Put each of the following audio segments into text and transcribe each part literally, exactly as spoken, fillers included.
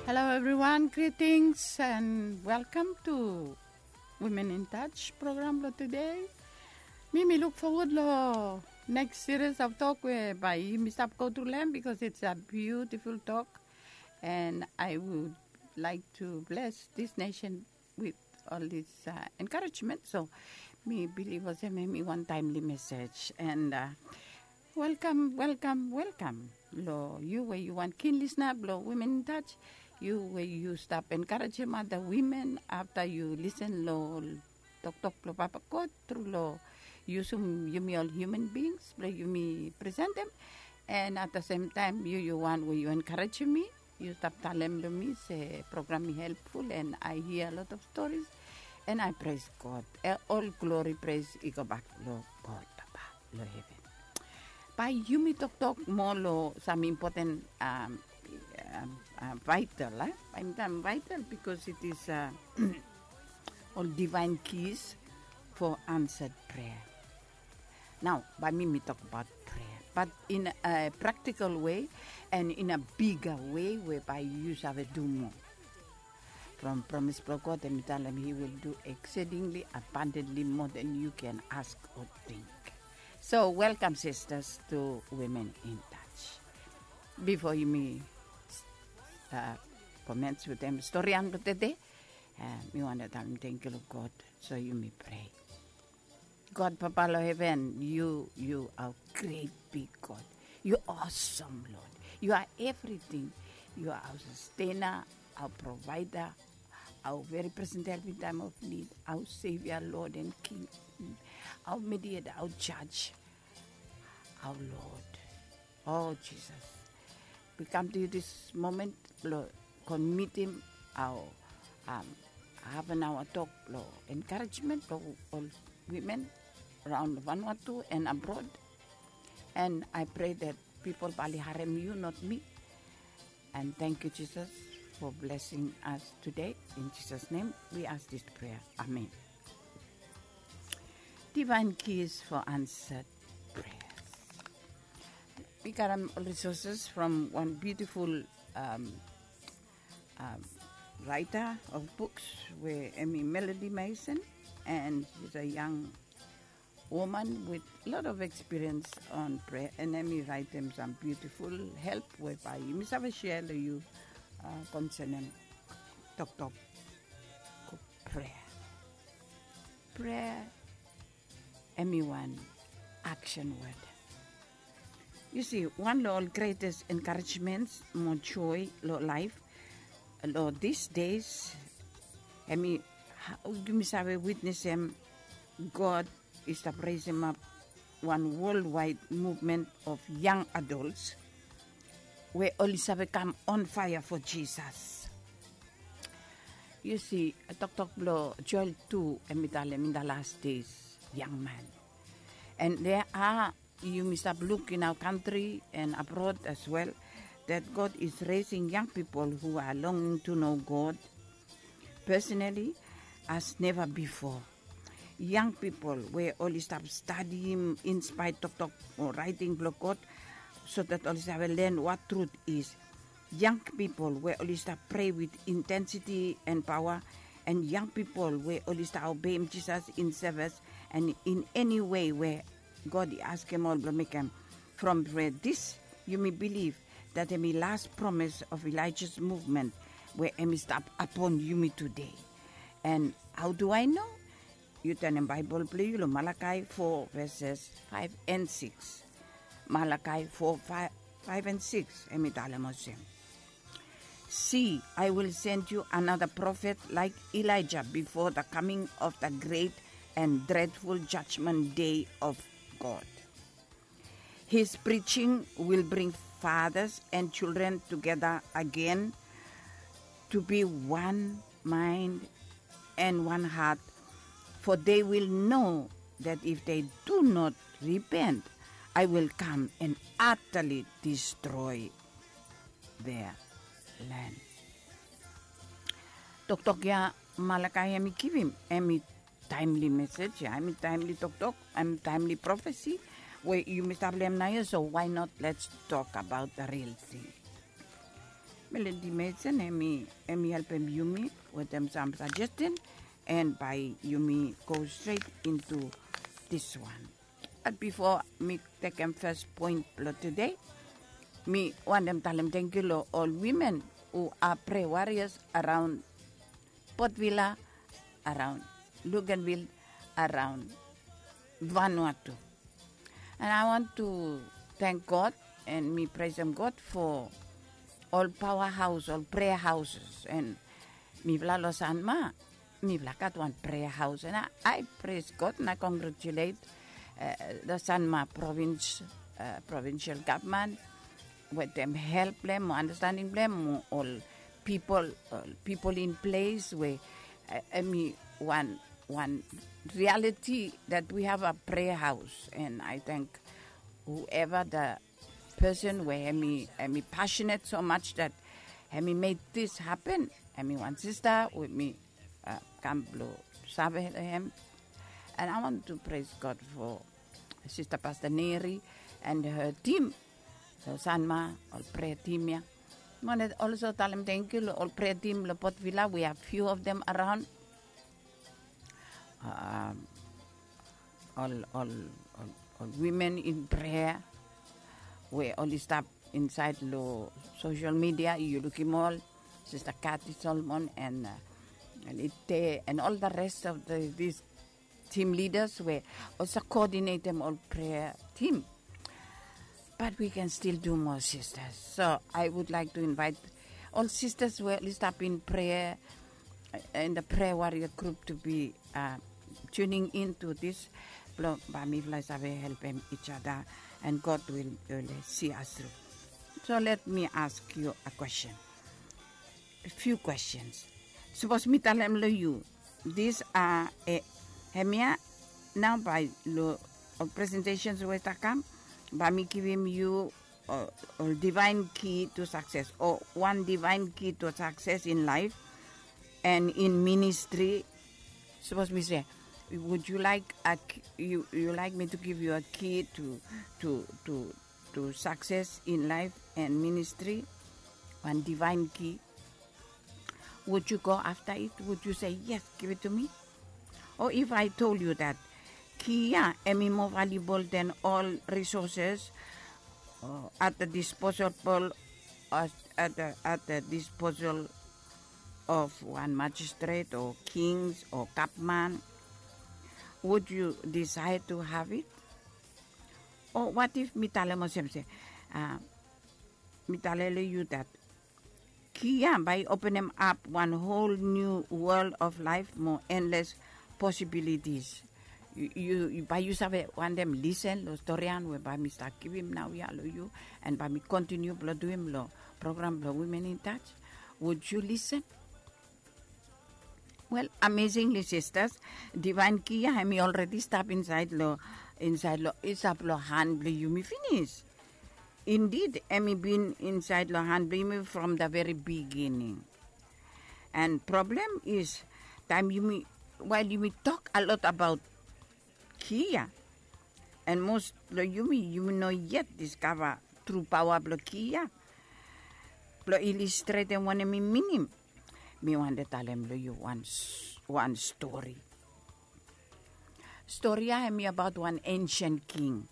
Hello everyone, greetings and welcome to Women in Touch program lo today. Mi mi luk fowod lo next series of talk we bae yumi stap go tru lo hem, because it's a beautiful talk, and I would like to bless this nation with all this uh, encouragement. So mi bilif olsem hemi wan timely message, and uh, welcome, welcome, welcome lo yu we yu wan kin lisna blo Women in Touch. Yu we yu stap encouragem other women afta yu listen lo toktok blo Papa God tru lo yusum yumi ol human beings blo yumi presentem. And at the same time, yu yu wan we yu encouragem mi, yu stap talem lo mi se program i helpful, and I hear a lot of stories, and I praise God. Eh, ol glory, praise i go bak lo God Papa lo heven. Bae yumi toktok moa lo sam impoten um, um, uh, vital, eh? Bae yumi talem vital because it is uh, ol divine keys for answered prayer. Nao bae mi mi tokbaot prayer, but in a practical way and in a bigger way we bae yu save du moa. From promise blo God, hemi talem he will do exceedingly abundantly more than you can ask or think. So welcome sisters to Women in Touch. Bifo yumi uh, commence wetem storian blo tede, uh, mi wantem talem tangkiu lo God. So yumi prea. God Papa lo heven, yu yu are great big God. Yu awesome Lord. Yu are everything. Yu are our sustainer, our provider, our very present help in time of need, our Savior, Lord and King, our Mediator, our Judge, our Lord. Oh Jesus, we come to you this moment lo committing our um, half an hour talk lo encouragement lo ol women around Vanuatu and abroad. And I pray that people bae oli harem yu, not me. And thank you Jesus for blessing us today. In Jesus' name we ask this prayer. Amen. Divine keys for answered prayers. Mi karem ol resources from one beautiful um, um, writer of books we hemi Melody Mason, and she's a young woman with lot of experience on prayer, and hemi raetem sam beautiful help we bae yumi save share lo yu uh, concerning toktok prayer. Prayer hemi wan action word. Yu si, wan lo ol greatest encouragements mo joy lo laef lo these days, hemi hao yumi save witnesem God i stap resemap wan worldwide movement of young adults we oli save kam on fire for Jesus. Yu si, toktok blo Joel tu hemi talem in the last days, young man. And there are, yumi stap luk in our country and abroad as well, that God is raising young people who are longing to know God personally as never before. Young people we oli stap stadiim inspire toktok o raeting blo God, so that oli save len what truth is. Young people we oli stap prea with intensity and power, and young people we oli stap obeim Jesus in service and in any way we God i askem ol blo mekem. From prea dis, yumi bilif that hemi last promise of Elijah's movement we hemi stap upon yumi today. And how do I know? Yu tanem Baebol blo yu lo Malakai four verses five and six. Malakai four, five, five and six, hemi talem olsem. See, I will send you another prophet like Elijah before the coming of the great and dreadful judgment day of God. His preaching will bring fathers and children together again to be one mind and one heart, for they will know that if they do not repent, I will come and utterly destroy their land. Toktok ya Malakai hemi givim, hemi timely message ya, hemi timely toktok, hemi timely prophecy we yumi stap lo hem naoia. So why not, let's talk about the real thing. Melody Mason, hemi hemi helpem yumi wetem sam suggestion, and bae yumi go straight into this one. But before mi tekem first point blo today, mi wantem talem thank you lo ol women who are prayer warriors around Port Vila, around Luganville, around Vanuatu. And I want to thank God, and mi praisem God for ol power house, ol prayer houses, and mifala lo Sanma, mifala gat wan prayer house, and I, I praise God and I congratulate uh, the Sanma province, uh, provincial government, wetem help blem, understanding blem, ol people, ol people in place we uh, hemi wan wan reality that we have a prayer house, and I thank whoever the person we hemi hemi passionate so much that hemi made this happen. Hemi wan sister we mi uh, kam blo save hem, and I want to praise God for Sister Pastor Neri and her team. So Sanma, ol prayer team ya. Mone also talem thank you lo ol prayer team lo Port Vila. We have few of them around. Um, ol ol ol ol women in prayer we oli stap inside lo social media, yu lukim ol Sister Kathy Solomon and uh, and Ite and all the rest of the, these team leaders we also coordinatem ol prayer team. But we can still do more, sisters. So I would like to invite all sisters we oli stap in prayer uh, in the prayer warrior group to be uh, tuning in to this blo bae mifala save helpem each other, and God will, will see us through. So let me ask you a question, a few questions. Sapos mi talem lo yu, this uh, eh, hemia nao bae lo ol presentations we stap kam, bae mi givim yu ol divine key to success, o wan divine key to success in life and in ministry. Sapos mi se, would you like a, you, you like me to give you a key to to to to success in life and ministry? Wan divine key. Would you go after it? Would you say, yes, give it to me? Or if I told you that key ya hemi more valuable than all resources uh, at the disposable uh, at, the, at the disposal of one magistrate or kings or government, would you desire to have it? Or what if mi talem olsem se uh, mi talem lo yu that key ya bae i openem ap wan whole new world of life mo endless possibilities. Yu bae yu save wantem lisen lo storian we bae mi stap givim naoia lo yu, and bae mi kontiniu blo duim lo program blo Women in Touch. Would you listen? Well, amazingly, sisters, divine key ya hemi already stap inside lo inside lo i stap lo han blo yumi finis. Indeed, hemi bin inside lo han blo yumi from the very beginning. And problem is, taem yumi, while yumi tok a lot about key ya, and most blo yumi, yumi no yet diskava tru paoa blo key ya. Blo ilistretem wanem i minim, mi wantem talem lo yu wan wan stori. Stori ya hemi abaot wan ancient king.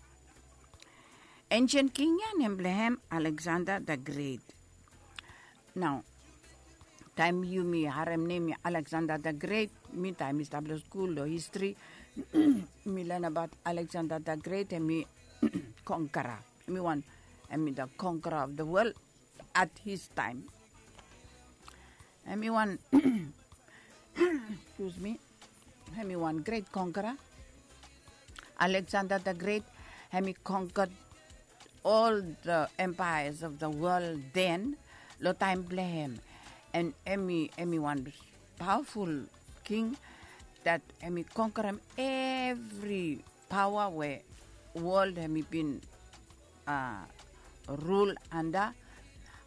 Ancient king ya nem blo hem Alexander the Great. Nao taem yumi harem nem ya Alexander the Great, mi taem mi stap lo skul lo history, mi len abaot Alexander the Great, hemi conqueror, hemi wan, hemi the conqueror of the world at his time. Hemi wan excuse me, hemi wan great conqueror. Alexander the Great, hemi conquered all the empires of the world then, lo taem blo hem. And hemi hemi wan powerful king that hemi conquerem evri paoa we world hemi bin uh, rule under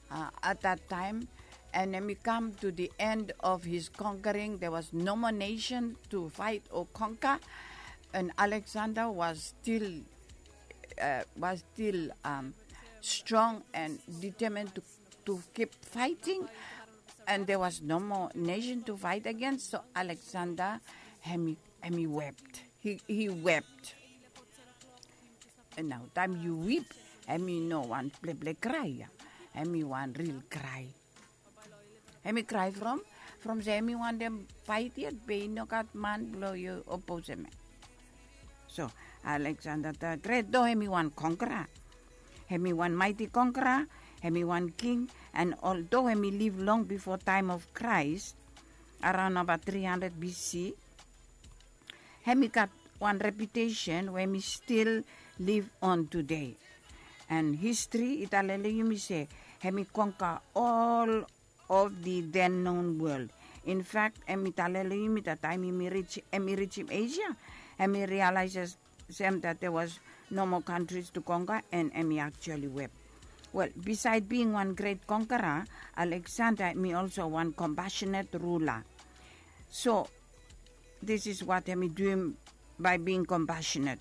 uh, at that time. And hemi come to the end of his conquering. There was no more nation to fight or conquer, and Alexander was still uh, was still um, strong and determined to to keep fighting, and there was no more nation to fight against. So Alexander, hemi, hemi wept. He, he wept. And now, time you weep, hemi no wan pleple cry, yeah. Hemi wan real cry. Hemi cry from, from se hemi wantem fight yet, be i no gat man blong i oppose hem. So Alexander the Great, though hemi wan conqueror, hemi wan mighty conqueror, hemi wan king, and although hemi live long before time of Christ, around about three hundred B C, hemi gat wan reputation we hemi still live on today. And history i talem long yumi se hemi conquer all of the then known world. In fact, hemi talem long yumi that time hemi reach, hemi reachim Asia, hemi realizes them that there was no more countries to conquer, and hemi actually wept. Well, beside being one great conqueror, Alexander hemi also one compassionate ruler. So this is what hemi duim by being compassionate.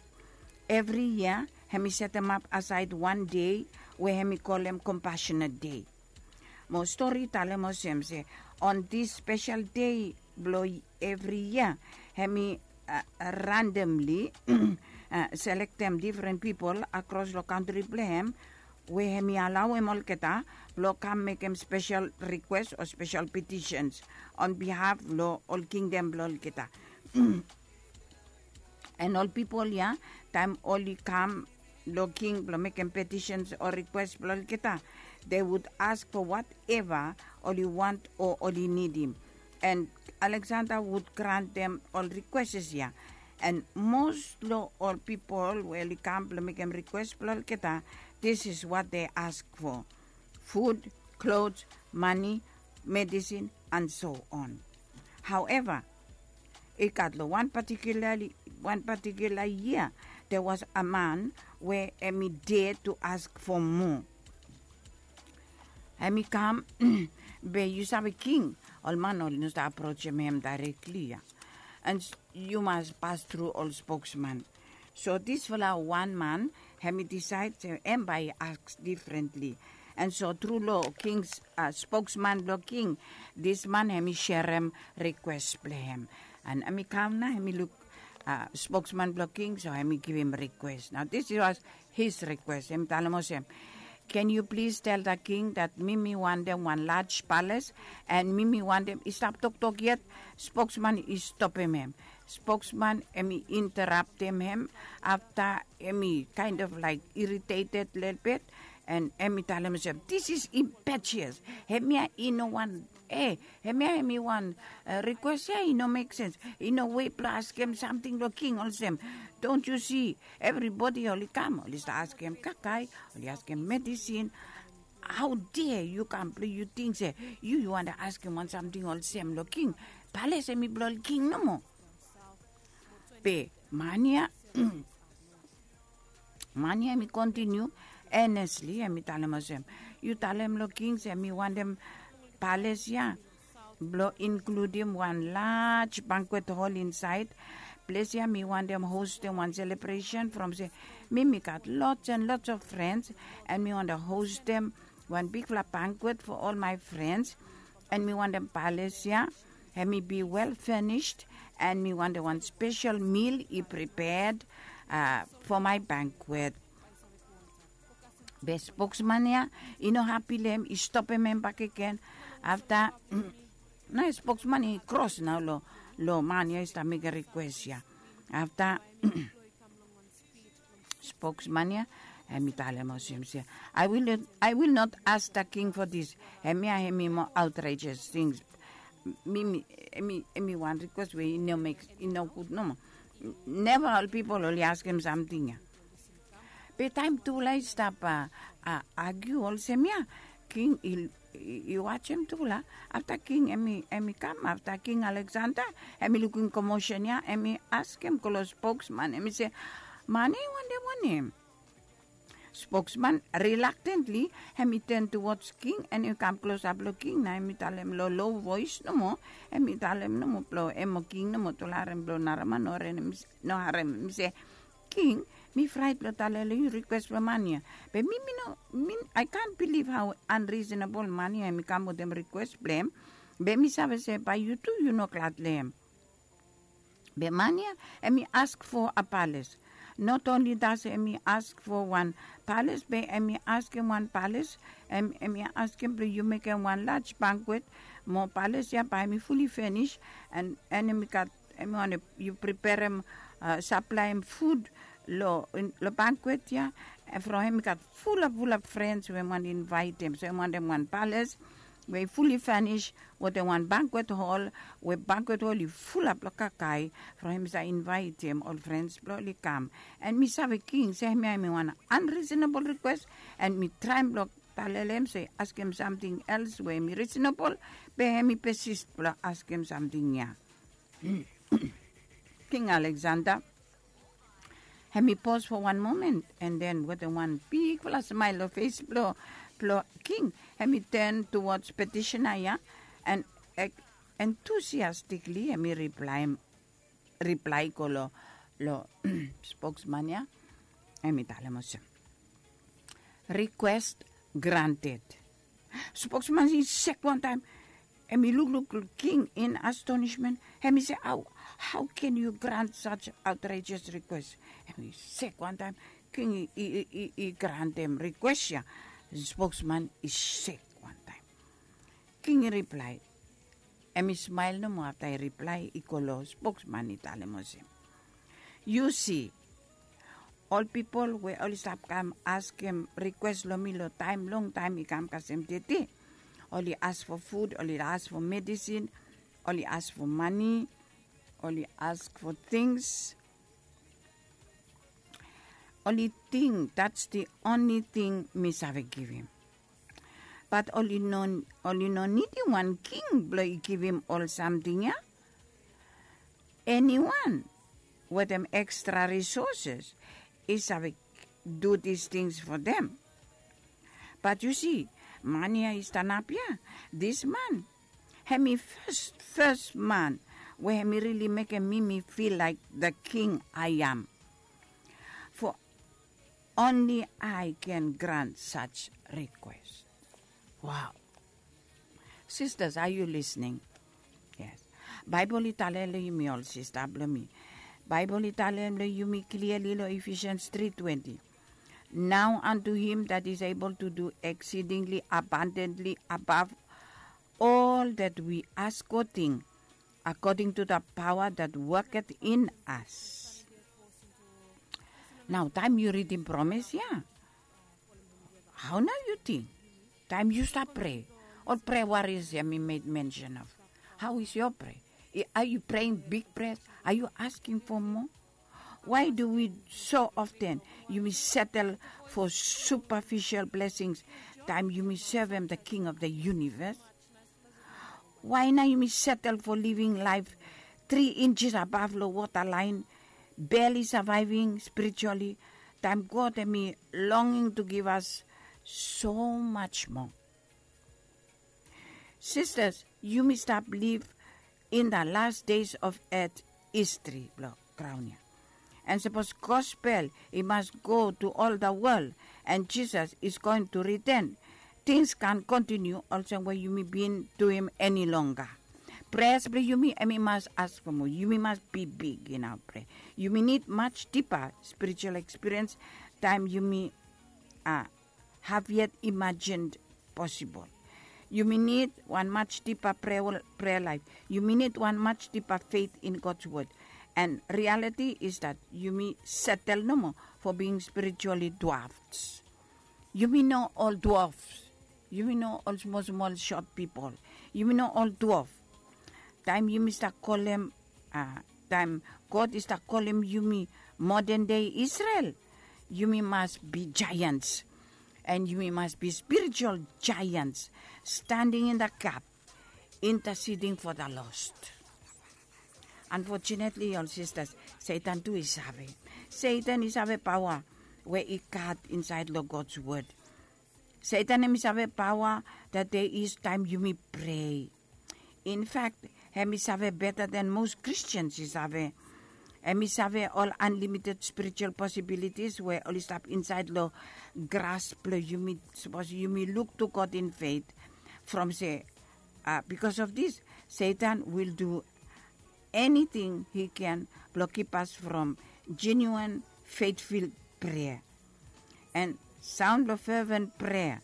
Evri yia hemi setemap asaed wan dei we hemi kolem Compassionate Day. Mo stori i talem olsem se on this special day blong evri yia, hemi randomly selektem difren pipol akros long kantri blong hem, we hemi alaoem olgeta blong kam mekem spesel rikwes o spesel petisens on bihaf blong ol kingdom blong olgeta. And ol pipol ya, taem oli kam long king blong mekem petisens o rikwes blong olgeta, they would ask for whatever oli want o oli nidim. And Alexander would grantem ol rikweses ya. And mos long ol pipol we oli kam blong mekem rikwes blong olgeta, this is what they ask for: food, clothes, money, medicine, and so on. However, i gat long wan particularly, wan particular year, there was a man we hemi dare to ask for more. Hemi kam, be yu save king, ol man oli no stap aprojem hem directly ya. And yu mas pas tru ol spokesman. So disfala wan man hemi disaed se hem bae i aks difrentli. And so tru long king, spokesman blong king, dis man hemi serem rikwes blong hem. And hemi kam nao, hemi luk spokesman blong king, so hemi givim rikwes. Nao dis was his request. Hemi talem olsem, can you please tell the king that mi mi wantem wan laj pales, and mi mi wantem, i stap toktok yet, spokesman i stopem hem. Spokesman hemi interaptem hem, afta hemi kind of like irritated lelebet, and hemi talem olsem, this is impetuous. Hemia i no wan, e, hemia hemi wan rikwes ya i no mek sens. I no wei blong askem samting long king olsem, don't you see, evribodi oli kam, oli stap askem kakae, oli askem medisin. Hao dea yu kam blong yu ting se yu, yu wantem askem wan samting olsem long king? Pales hemi blong ol king nomo. Be man ya, man ya hemi kontiniu enesli, hemi talem olsem, yu talem long king se mi wantem pales ya blong inkludim wan laj bankwet hol insaed. Ples ya mi wantem hostem wan selebresen from se mi, mi gat lots and lots of frens, and mi wantem hostem wan bigfala bankwet fo ol mae frens, and mi wantem pales ya hemi bi wel fenisd, and mi wantem wan spesel mil i prepaed fo mae bankwet. Be spokesman ya i no hapi long hem, i stopem hem bakegen. Afta nao spokesman i kros nao long man ya i stap mekem rikwes ya. Afta spokesman ya hemi talem olsem se, I will not, I will not ask the king for this. Hemia hemi moa outrageous things. Mi, mi, hemi, hemi wan rikwes we i no mek, i no gud nomo. Neva ol pipol oli askem samting ya. Be taem tufala i stap agiu olsem ya, king i, i wajem tufala. Afta king hemi, hemi kam, afta King Alexander hemi lukim komosen ya, hemi askem go long spokesman, hemi se, man ya i wantem wanem? Spokesman reluctantly hemi turn towards king, and i kam klosap long king, nao hemi talem long low voice nomo, hemi talem nomo blong hem o king nomo, tufala harem blong naraman no harem, hemi se, king, Mi fraet blong talem long yu rikwes blong man ya. Be mi mi no mi I can't believe how unreasonable man ya hemi kam wetem rikwes blong hem. Be mi save se bae yu tu yu no glad long hem. Be man ya hemi ask fo a pales. Not only das hemi ask fo wan pales be hemi askem wan pales. Hemi askem blong yu mekem wan laj bankwet mo pales ya bae hemi fuli finis. An hemi gat hemi wantem yu preperem, saplaem fud long bankwet ya. From hemi gat fulap fulap frens we hemi wantem invaetem so hemi wantem wan pales we i fuli finis wetem wan bankwet hol we bankwet hol i fulap long kakae. From hemi save invaetem ol frens blong oli kam. An mi save king se hemia hemi wan anrisenabol rikwes. An mi traem blong talele hem se i askem samting els we hemi risenabol. Be hemi pesis blong askem samting ya. King Aleksanda hemi pos fo wan momen an den wetem wan bigfala smael long fes blong king hemi ten tuwods petisena ya. An entusiastikli hemi riplae i go long spoksman ya. Hemi talem olsem, rikwes granted. Spoksman i sek wantaem. Hemi lukluk king in astonismen. Hemi se, hau ken yu grant saj aotraejes rikwes? Hemi sek wantaem. King i grantem rikwes ya. Spoksman i sek wantaem. King i riplae. Hemi smael nomo afta i riplae i go long spoksman i talem olsem, yu si, ol pipol we oli stap kam askem rikwes long mi long taem longtaem i kam kasem tete. Oli as fo fud, oli as fo medisin, oli as fo mane, oli as fo tings. Oli ting dats di onli ting mi save givim. Bat oli no nidim wan king blong i givim ol samting ya. Eniwan wetem ekstra risoses i save du dis tings fo dem. Bat yu si, man ya i stanap ya, dis man hem i fes fes man we hem i rili mekem mi mi fil laik the king i am. Fo onli i ken grant saj rikwes. Wow. Sistas, a yu lisning? Yes. Baebol i talem long yumi ol sista blong mi. Baebol i talem long yumi kliali long efisians tri twenti. Nao antu him dat is ebol tu du eksidingli abandentli abav ol dat wi ask o ting, akoding tu da paoa dat woket in as. Nao taem yu ridim promes ya, hao nao yu ting? Taem yu stap prea, ol prea waris ya mi med mensen of, hao is yo prea? A yu preing big prea? A yu asking fo moa? Wae du wi so often yumi setel fo supafisel blesings taem yumi sevem da king of da yunives? Wae nao yumi setel fo living laef tri injes abav long wota laen, beli savaeving spirituali, taem god hem i longing tu givas so maj moa? Sistas, yumi stap liv in da las des of et histri blong graon ya. An sapos gospel i mas go tu ol da wol an jisas is goen tu riten, tings kan kontiniu olsem we yumi bin duim eni longga. Pres blong yumi hem i mas askem o yumi mas bibig in aot prea. Yumi nid maj dipa spiritual ekspiriens taem yumi a have yet imagined posibol. Yumi nid wan maj dipa prea laef. Yumi nid wan maj dipa feit in gods wod. An rialiti is dat yumi setel nomo fo bing spirituali dwafs. Yumi no ol dwafs. Yumi no ol smolsmol sot pipol. Yumi no ol dwaf. Taem yumi stap kolem a taem god i stap kolem yumi moden dei isrel, yumi mas bi jaeans. An yumi mas bi spiritual jaeans, standing in da gap, intasiding fo da lost. Anfotunetli ol sistas, setan tu i save. Setan i save paoa we i gat insaed long gods wod. Setan hem i save paoa dat de is taem yumi prea. Infak, hem i save beta den mos kristians i save. Em i save ol unlimited spiritual possibilities we oli stap inside lo gras blo yumi. Sapos yumi look to God in faith from se, uh, because of this, Satan will do anything he can blo keep us from genuine faithful prayer. And sound lo fervent prayer,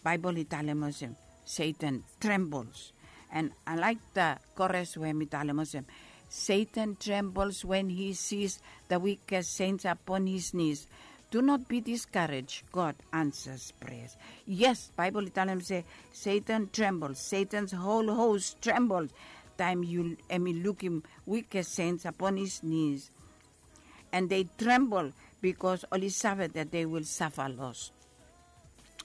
Bible i talem olsem, Satan trembles. And I like the chorus we mi talem olsem, Satan trembles when he sees the weakest saints upon his knees. Do not be discouraged, God answers prayers. Yes, Bible i talem se, Satan trembles, Satan's whole host trembles taem yu em i lukim weakest saints upon his knees. And they tremble because oli save that they will suffer loss.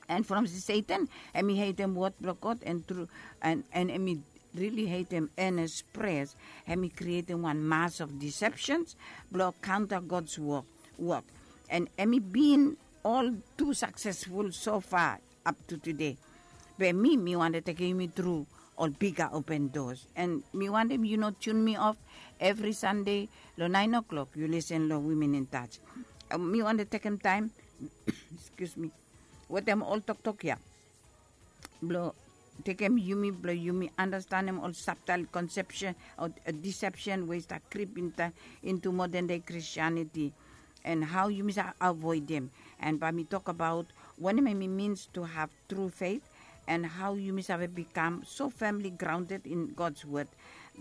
And from Satan, em i hatem word blo God and tru, and, and em i really hatem earnest prayers. Em i createm wan mass of deceptions blo counter God's work, work. And em i bin all too successful so far up to today. Be mi, mi wante tekem yumi tru ol bigger open doors. And mi wantem yu no tune mi off every Sunday lo nine o'clock yu listen lo Women in Touch. Mi wante tekem taem, excuse me, wetem ol toktok ya blo tekem yumi blo yumi understandem ol subtle conception o deception we i stap creep into modern day Christianity, and how yumi sa avoidem. And bae mi tok abaot wanem em i means to have true faith, and how yumi save become so firmly grounded in God's word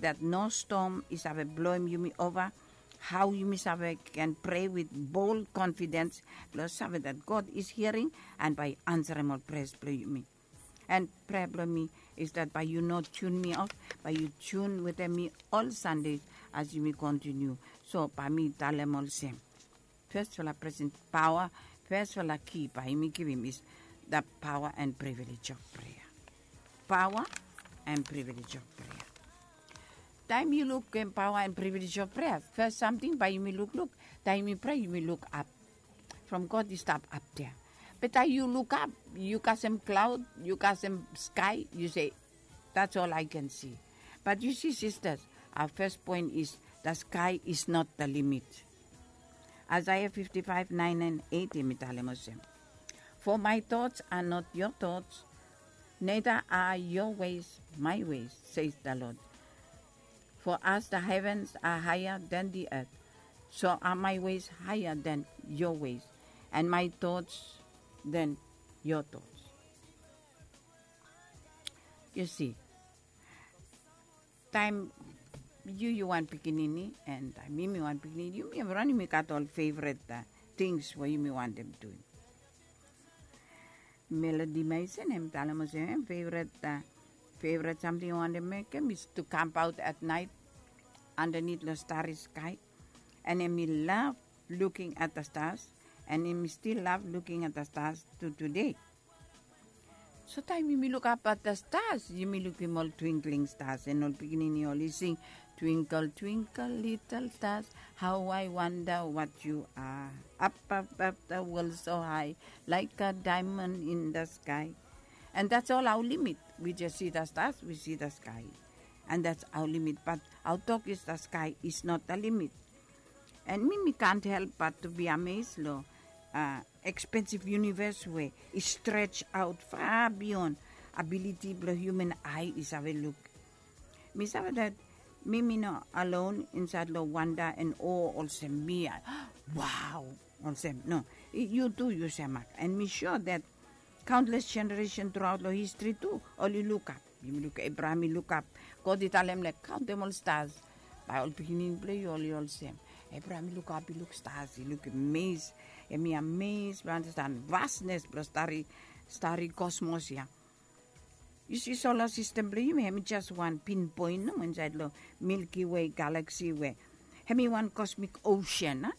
that no storm i save bloem yumi ova, how yumi save can pray with bold confidence blo save that God is hearing and bae i ansarem ol prayers blo yumi. And prayer blo mi is that bae yu no tune mi off, bae yu tune wetem mi ol Sunday as yumi continue. So bae mi talem olsem, firstfala present power, firstfala key bae yumi givim is the power and privilege of prayer. Power and privilege of prayer. Taem yu lukim power and privilege of prayer, first samting bae yumi lukluk, taem yumi pray yumi luk ap. From God i stap ap dea. Be taem yu luk ap, yu kasem cloud, yu kasem sky, yu se, that's all I can see. But you see, sisters, our first point is the sky is not the limit. Isaiah fifty-five, nine and eight, em i talem olsem, for my thoughts are not your thoughts, neither are your ways my ways, says the Lord. For as the heavens are higher than the earth, so are my ways higher than your ways, and my thoughts than your thoughts. Yu si, taem yu yu wan pikinini and taem mi mi wan pikinini, yumi evriwan yumi gat ol favorit tings we yumi wantem duim. Melody Mason em i talem olsem, em favorit, favorit samting i wantem mekem is to kamp aot at nait andanit long stari skai. And em i lav luking at the stars, and em i stil lav luking at the stars tu tude. So taem yumi lukap at the stars, yumi lukim ol twinkling stars, and ol pikinini oli sing, twinkle twinkle little stars, how I wonder what you are, up up up the world so high, like a diamond in the sky. And that's all our limit. We just see the stars, we see the sky. And that's our limit. But our tok is the sky is not the limit. And mi mi kant help bat tu bi ames long expensive universe we i stretch aot far beyond ability blong human ai i save luk. Mi save dat mi mi no alone insait long wanda and o olsem mi. Wow. Olsem no, yu tu yu semak. And mi sure dat countless generation truaot long history tu oli lukap. Yumi luk Abraham i lukap. God i talem lek kaontem ol stars. Bae ol pikinini blong yu oli olsem. Abraham i lukap i luk stars i luk ames. Em i ames blong anastan vasnes blong stari stari kosmos ya. Yu si sola sistem blong yumi em i jes wan pinpoin nomo insait long Milky Way galaksi we em i wan kosmik osen a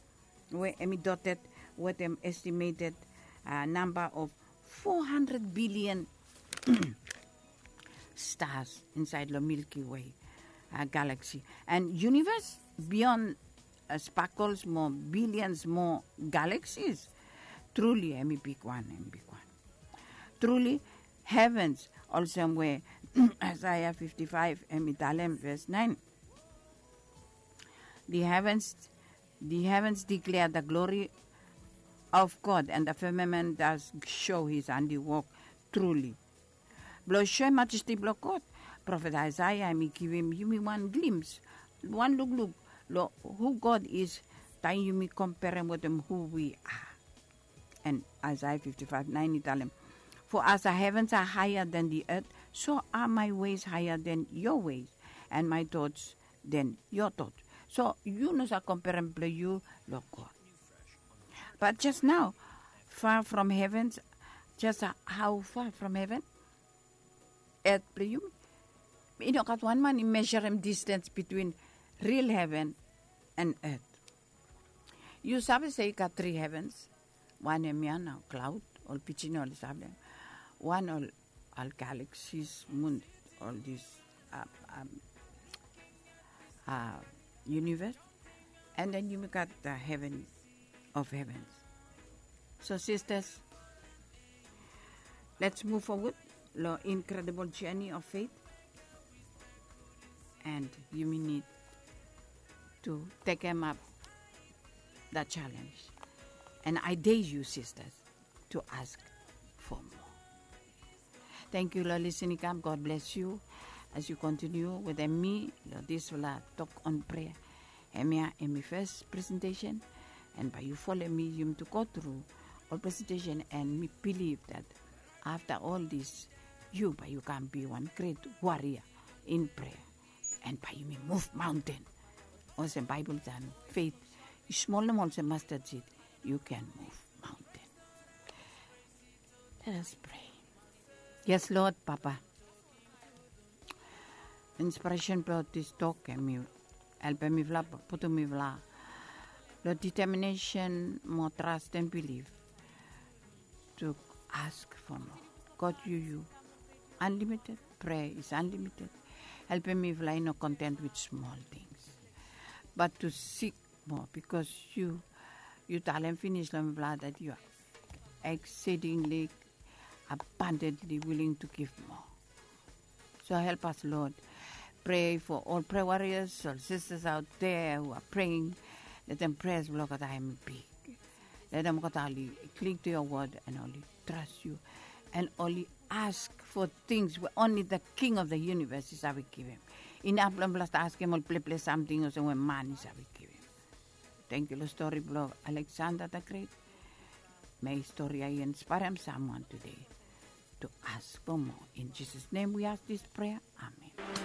we em i dotet wetem estimeted namba of four hundred bilian stars insait long Milky Way galaksi. And universe bion spakels mo bilians mo galaksis. Truli em i bigwan em i bigwan. Truli, heavens olsem we Isaiah fifty-five em i talem ves nine. The heavens, the heavens declare the glory of God, and the firmament does show his handiwork truly. Blong soem majesti blong God, profet Aesea hemi givim yumi wan glimpse, wan lukluk long hu God is, taem yumi komperem wetem hu wi are. And Isaiah fifty-five nine i talem, "For as the heavens are higher than the earth, so are my ways higher than your ways, and my thoughts than your thoughts." So yu no save komperem blong yu long God. But just now, far from heavens, just how far from heaven, earth blong yumi. I no gat wan man i measurem distance between real heaven and earth. Yu save se i gat three heavens. Wan hemia na cloud, ol pidgin oli save. Wan ol, ol galaxies, moon, ol this, uh, um, uh, universe. And then yumi gat the heaven of heavens. So sisters, let's move forward long incredible journey of faith. And yumi need to take him up that challenge. And I dare you, sisters, to ask for more. Thank you long listening kam. God bless you as you continue wetem mi long disfala Tok on Prayer. Hemia hemi first presentation, and bae yu folem mi yumi tu go tru ol presentation, and mi bilif that after all this, yu bae yu kam be wan great warrior in prayer, and bae yumi move mountain. Olsem Baebol talem, faith i smol nomo olsem mustard seed, you can move mountain. Let us pray. Yes, Lord, Papa. Inspiresen blong this tok hemi helpem mifala, putum mifala long determination mo trust and belief to ask for more. God, yu, yu unlimited. Prayer is unlimited. Helpem mifala i no content with small things, but to seek more, because yu, yu talem finis long mifala that you are exceedingly abundantly willing to give more. So help us, Lord. Pray for all prayer warriors, all sisters out there who are praying. Let them prayers blong olgeta hemi big. Let them olgeta oli cling to your word and oli trust you, and oli ask for things we only the King of the universe i save givim. Inap blong mifala stap askem ol pleples samting olsem we man i save givim. Thank you long stori blong Alexander the Great. May stori ya i inspirem someone today to ask for more. In Jesus' name we ask this prayer. Amen.